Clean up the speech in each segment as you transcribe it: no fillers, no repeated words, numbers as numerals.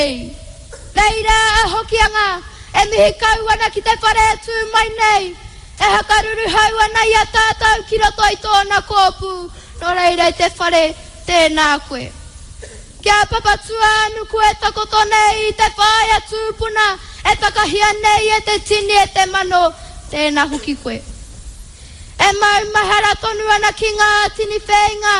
nei. Nei rā a Hokianga e mihi kau ana ki te whare e tū mai nei, e hakaruruhau ana i a tātou ki roto i tōna kōpū, nō reira i te whare, tēnā koe. Ki a Papatūānuku e takoto nei i te whaea tūpuna e takahia nei e te tini e te mano, tēnā hoki koe. E maumahara tonu ana ki ngā tini whēinga,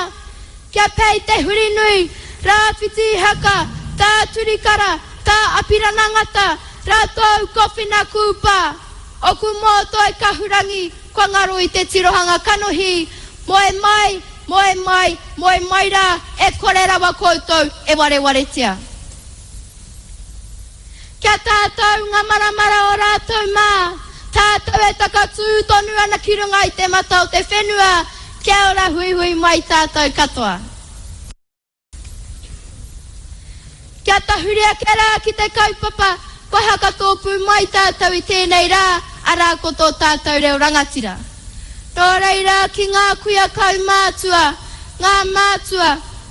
kia pei te hurinui, Rāwhiti Ihaka, Tā Turikara, Tā Apirana Ngata, rātou ko Whina Kūpā. Oku mōtoi kahurangi kua ngaro i te tirohanga kanohi, moe mai, moe mai, moe mai rā, e kore rawa koutou e warewaretia. Kia tātou ngā maramara o rātou mā, tātou e takatū tonu ana ki runga i te mata o te whenua, kia ora huihui mai tātou katoa. Kia tahuri ake rā ki te kaupapa kua hakatōpū mai tātou i tēnei rā, arā ko tō tātou reo rangatira. Nō reira ki ngā kuia kaumātua, ngā mātua,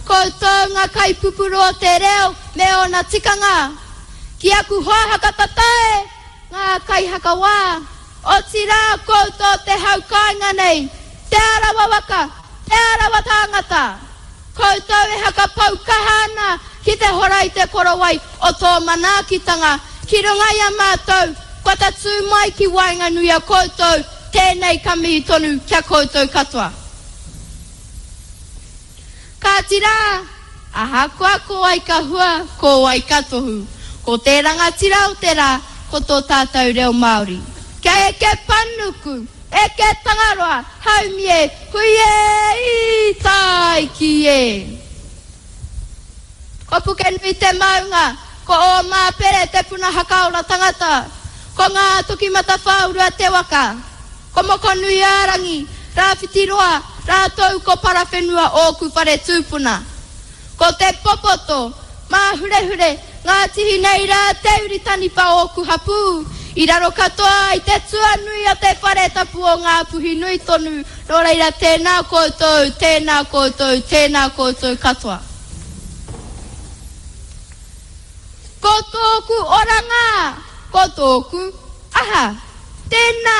koutou ngā kaipupuru o te reo me ōna tikanga, ki aku hoa hakatatae, ngā kaihakawā, otirā koutou te hau kāinga nei, Te Arawa waka, Te Arawa tāngata! Koutou e hakapau kaha ana ki te hora i te korowai o tō manaakitanga ki runga i a mātou, kua tatū mai ki waenganui a koutou, tēnei ka mihi tonu ki a koutou katoa. Kāti rā, ahakoa ko wai ka hua, ko wai ka tohu, ko te rangatira o te rā, ko tō tātou reo Māori. Kia eke panuku! Eke Tangaroa, haumi e, hui e, i tāiki e. Ko Pukenui te maunga, ko Ōmāpere te puna hakaora tangata, ko Ngātokimatawhāurua te waka, ko Mokonuiārangi, Rāwhitiroa, rātou ko Parawhenua ōku whare tūpuna. Ko Te Popoto, Māhurehure, Ngāti Hinei rā te uri taniwha ōku hapū, i raro katoa i te tuanui o te whare tapu o Ngāpuhi nui tonu, nō reira tēnā koutou, tēnā koutou, tēnā koutou katoa. Ko tōku oranga, ko tōku aha? Tēnā,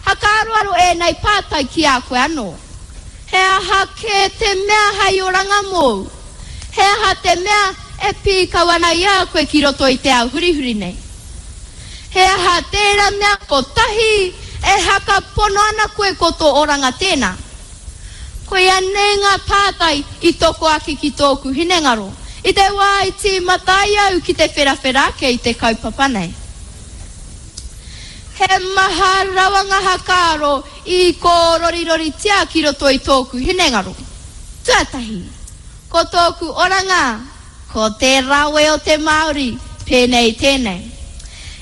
hakaaroaro ēnei pātai ki a koe anō. He aha kē te mea hei oranga mōu? He aha te mea e pīkau ana i a koe ki roto i te ao hurihuri nei? He aha tērā mea kotahi e haka pono ana koe ko tō oranga tēnā? Koia nei ngā pātai i toko ake ki tōku hinengaro i te wā i tīmata ai au ki te wherawhera ake i te kaupapa nei. He maha rawa ngā hakaaro i kōroriroritia ki roto i tōku hinengaro. Tuatahi, ko tōku oranga, ko te rawe o te Māori, pēnei tēnei.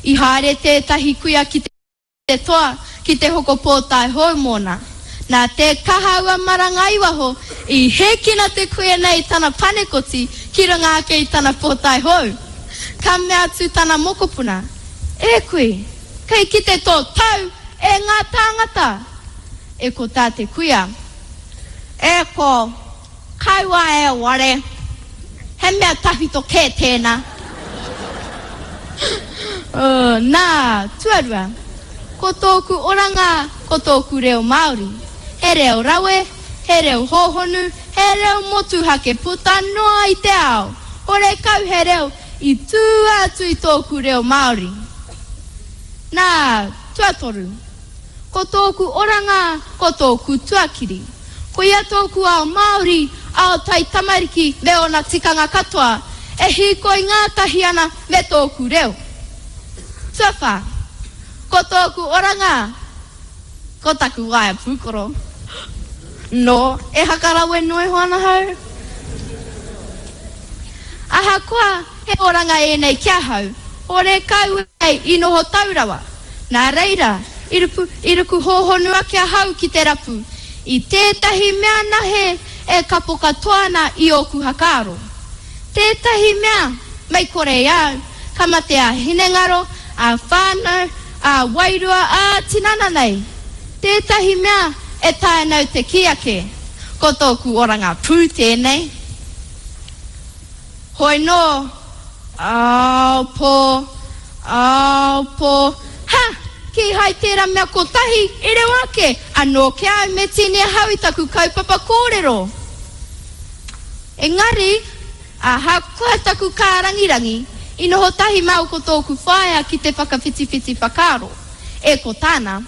I haere tētahi kuia ki te toa ki te hoko pōtae hou mōna. Nā te kaha ua maranga i waho, i hēkina te kuia nei i tana panekoti ki runga ake i tana pōtae hou. Ka mea atu tana mokopuna, E kui, kei kite tō tau e ngā tāngata! E ko tā te kuia, E ko, kaua e ware, he mea tawhito kē tēnā. Nā, tuarua, ko tōku oranga ko tōku reo Māori. He reo rawe, he reo hōhonu, he reo motuhake puta noa i te ao. Horekau he reo i tua atu i tōku reo Māori. Nā, tuatoru, ko tōku oranga, ko tōku tuakiri. Koia tōku ao Māori, ao taitamariki me ōna tikanga katoa, e hīkoi ngātahi ana me tōku reo. Tuawhā, ko tōku oranga, ko taku waea pūkoro. Nō, e hakarawe noa iho ana hau. Ahakoa he oranga ēnei ki ahau, horekau ēnei i noho tau rawa. Nā reira, i ruku, i ruku hōhonu ake ahau ki te rapu i tētahi mea nahe e kapo katoa ana i ōku hakaaro. Tētahi mea, mei kore i a au, ka mate ā-hinengaro, ā-whānau, ā-wairua, ā-tinana nei. Tētahi mea e taea nau te kī ake, ko tōku oranga pū tēnei. Hoi nō, Ao pō, ao pō, ha! Kīhai tērā mea kotahi i rewa ake, anō ki a au me tīni ahau i taku kaupapa kōrero. Engari, ahakoa taku kārangirangi, i noho tahi māua ko tōku whaea ki te whakawhitiwhiti whakaaro. E ko tāna,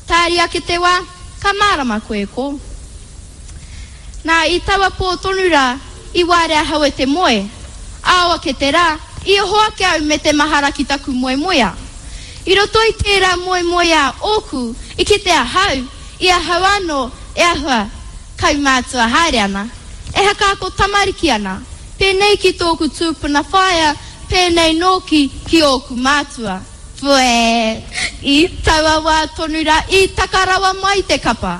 Tāri ake te wā, ka mārama koe ko. Nā, i taua pō tonu rā, i waere ahau e te moe. Ao ake te rā, i oho ake au me te mahara ki taku moemoeā. I roto i tērā moemoeā ōku, i kite ahau, i ahau anō e ahua kaumātua haere ana, e hakaako tamariki ana, pēnei ki tōku tūpuna whaea, pēnei nōki ki ōku mātua. Whee! I taua wā tonu rā i taka rawa mai te kapa.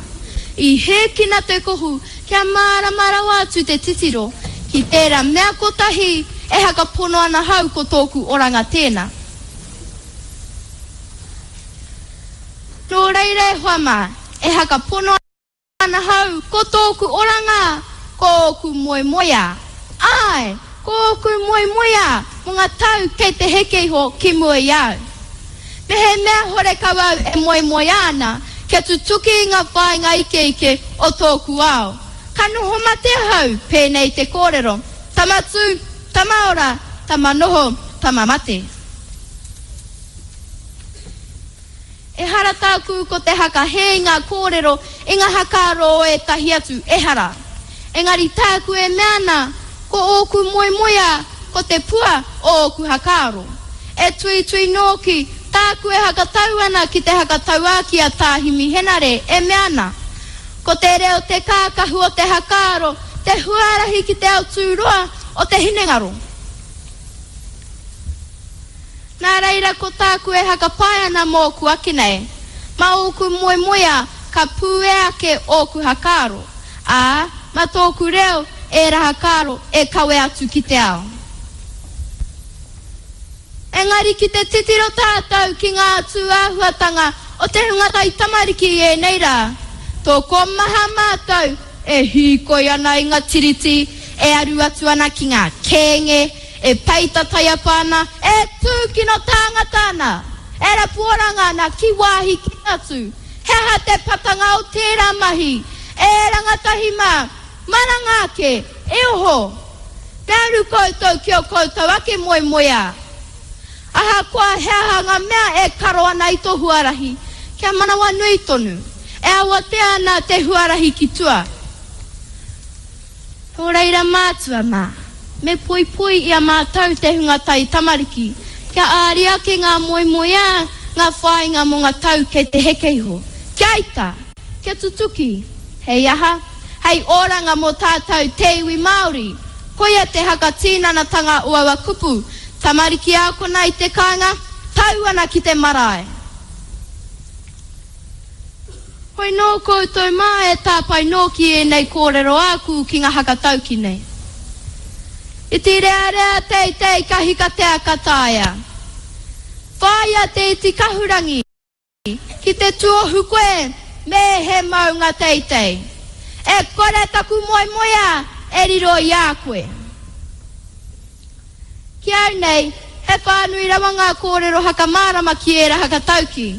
I hēkina te kohu kia mārama rawa atu te titiro ki tērā mea kotahi e hakapono ana hau ko tōku oranga tēnā. Nō reira e hoa mā, e hakapono ana hau, ko tōku oranga, ko ōku moemoeā. Āe, ko ōku moemoeā mō ngā tau kei te heke iho ki mua i a au. Mehemea horekau au e moemoeā ana kia tutuki i ngā whāinga ikeike o tōku ao, ka noho mate ahau, pēnei te kōrero, tama tū, tama ora, tama noho, tama mate. Ehara tāku ko te hakahē i ngā kōrero, i ngā hakaaro o ētahi atu, ehara. Engari tāku e mea ana, ko ōku moemoeā, ko te pua o ōku hakaaro. E tuitui nōki, tāku e hakatau ana ki te hakatauākī a Tā Himi Henare e mea ana, Ko te reo te kākahu o te hakaaro, te huarahi ki te ao tūroa o te hinengaro. Nā reira ko tāku e hakapae ana mōku ake nei, mā ōku moemoeā ka pūea ake ōku hakaaro, ā, mā tōku reo ērā hakaaro e kawe atu ki te ao. Engari ki te titiro tātou ki ngā tūāhuatanga o te hunga taitamariki i ēnei rā, tokomaha mātou e hīkoi ana i ngā tiriti, e aru atu ana ki ngā kēnge, E peita taiapa ana, e tūkino tāngata ana, e rapu oranga ana ki wāhi kē atu. He aha te patanga o tērā mahi? E rangatahi mā, maranga ake, e oho! Me aru koutou ki ō koutou ake moemoeā. Ahakoa he aha ngā mea e karo ana i tō huarahi, kia manawanui tonu, e awatea ana te huarahi ki tua. Nō reira mātua mā, me poipoi i a mātou te hunga taitamariki, kia āria ake ngā moemoeā, ngā whāinga mō ngā tau kei te heke iho. Kia ita! Kia tutuki! Hei aha? Hei oranga mō tātou te iwi Māori! Koia te hakatīnanatanga o aua kupu, tamariki ākona i te kāinga, tau ana ki te marae! Hoi nō koutou mā e tāpae nōki ēnei kōrero āku ki ngā hakatauki nei. Iti rearea teitei ka hikatea ka taea. Whāia te iti kahurangi ki te tuohu koe me he maunga teitei. E kore taku moemoeā e riro i a koe. Ki au nei, he whānui rawa ngā kōrero hakamārama ki ērā hakataukī.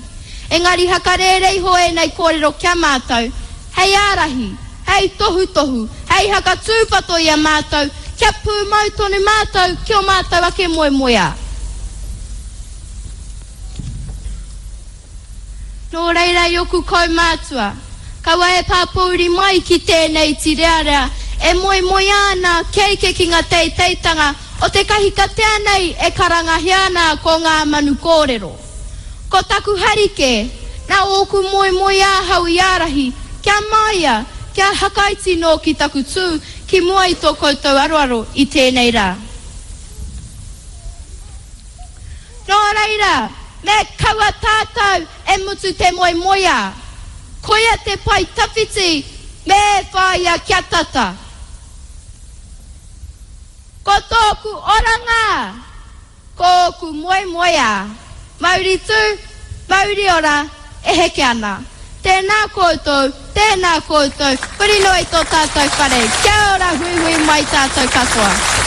Engari hakarēre iho ēnei kōrero ki a mātou, hei ārahi, hei tohutohu, hei hakatūpato i a mātou kia pūmau tonu mātou ki ō mātou ake moemoeā. Nō reira i oku kaumātua, kaua e pāpōuri mai ki tēnei tīrearea e moemoeā ana kia eke ki ngā teiteitanga o te kahikatea nei e karangahia ana ko ngā manu kōrero. Ko taku hari kē, nā ōku moemoeā ahau i ārahi, kia māia, kia hakaiti nōki taku tū ki mua i tō koutou aroaro i tēnei rā. Nō reira, me kaua tātou e mutu te moemoeā. Koia te pae tawhiti me whāia kia tata. Ko tōku oranga, ko ōku moemoeā. Mauri tū, mauri ora, e heke ana. Tēnā koutou, tēnā koutou, huri noa i tō tātou whare. Kia ora huihui mai tātou katoa.